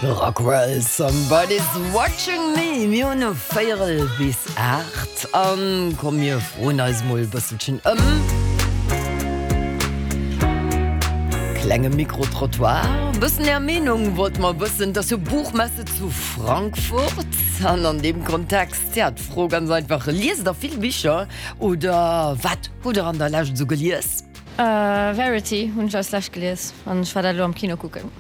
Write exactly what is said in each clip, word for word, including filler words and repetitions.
Rockwell, Somebody's Watching Me. Mir hunn no véierel bis aacht an komm mir froen eis mol e bësselchen ëm. Klenge Micro-Trottoir, e bëssen är Meenung wollte mer wëssen. Et ass jo Buchmesse zu Frankfurt an an deem Kontext, ja, d'Fro ganz einfach, Liest der vill Bicher oder wat hutt der an der Lescht esou gelies? Verity hunn ech als lescht gelies an ech war dat elo am Kino kucken.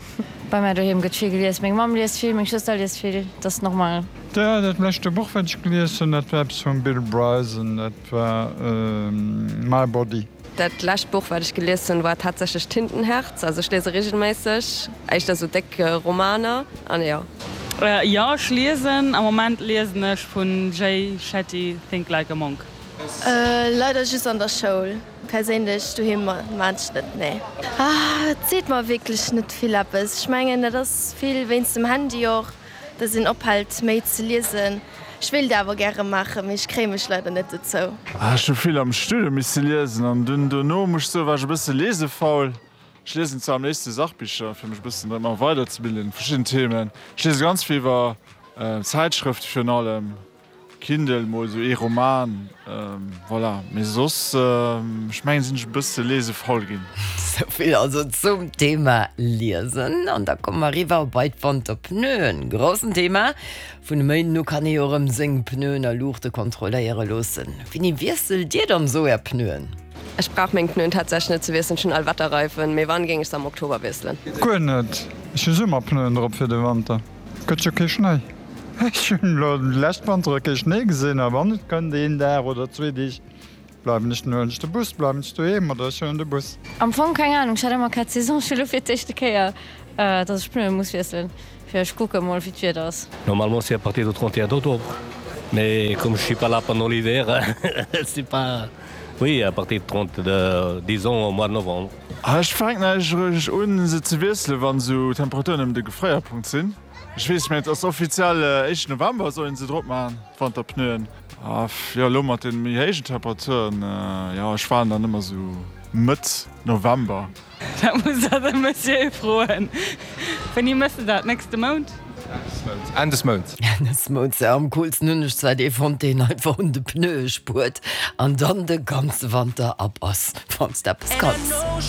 Bei mär doheem gëtt vill gelies, meng Mamm liest vill, meng Schwëster liest vill, dat ass normal. Jo, dat leschte Buch wat ech gelies hunn, dat war eppes vum Bill Bryson, dat war My Body. Dat lescht Buch wat ech gelies hunn war tatsächlech Tintenherz, also ech liese regelméisseg, éischter sou déck Romaner an jo. Jo, ech liesen. Am Moment liesen ech vun Jay Shetty Think Like a Monk. Leider just an der Schoul. Perséinlech doheem maan ech net, nee. Et seet mer wierklech net vill eppes. Ech mengen dat ass vill wéinst dem Handy och, dass een ophält méi ze liesen. Ech wéilt awer gäre maachen, mee ech kréie mech leider net dozou. Ech hu vill am Studium misse liesen an dunn dono muss ech soen, war ech e bësse lesefaul. Ech liesen zwar am léifste Sachbicher, fir mech e bëssen ëmmer weiderzebilden, verschidden Themen. Ech liese ganz vill iwwer Zäitschrëfte virun allem. Kindle, mol esou ee Roman, voilà, mee soss, ech mengen, sinn ech e bësse lesefaul ginn. Souvill also zum Thema Liesen. An da komme mer eriwwer bei d'Wanterpneuen. Groussen Thema. Vun e Méinden u kann ee jo erëm seng Pneuen a Luuchte kontrolléiere loossen. Wéini wiesselt Dir dann esou Är Pneuen? Ech brauch meng Pneuen tatsächlech net ze wiesselen, ech hunn Allwetterreifen, mee wann, géing ech se am Oktober wiesselen. Guer net, ech hu Summerpneuen drop fir de Wanter, gëtt jo kee Schnéi. Ech hunn elo déi lescht Wantere kee Schnéi gesinn a wann et kënnt, een Dag oder zwee Deeg, bleiwen ech, dann huelen ech de Bus, bleiwen ech doheem oder ech huelen de Bus. Am Fong keng Ahnung, ech hat ëmmer quatre saisons, ech hu lo fir d'éischte Kéier, dass ech Pneue muss wiesselen, fir ech kucke mol wéi d'Wieder ass. Normalement c'est à partir du trente et un octobre, mais comme je suis pas là pendant l'hiver, c'est pas, oui à partir de trente, disons au mois de novembre. Ech fänken eigentlech eréischt un se ze wiesselen, wann esou Temperaturen ëm de Gefréierpunkt sinn. Ech weess, mä et ass offiziell éischten November soll een se drop maachen, d'Wanterpneuen. A jo, elo mat de méi héijen Temperaturen, jo, ech waarden dann ëmmer esou Mëtt November. Dat muss der de Monsieur froen. Wéini mëss de dat? Nächste Mount? Enn des Mounts. Enn des Mounts, jo. Am coolsten hunn ech zwar dee fonnt, deen einfach un de Pneue spuert an dann de ganze Wanter ab ass, wann s de eppes kanns.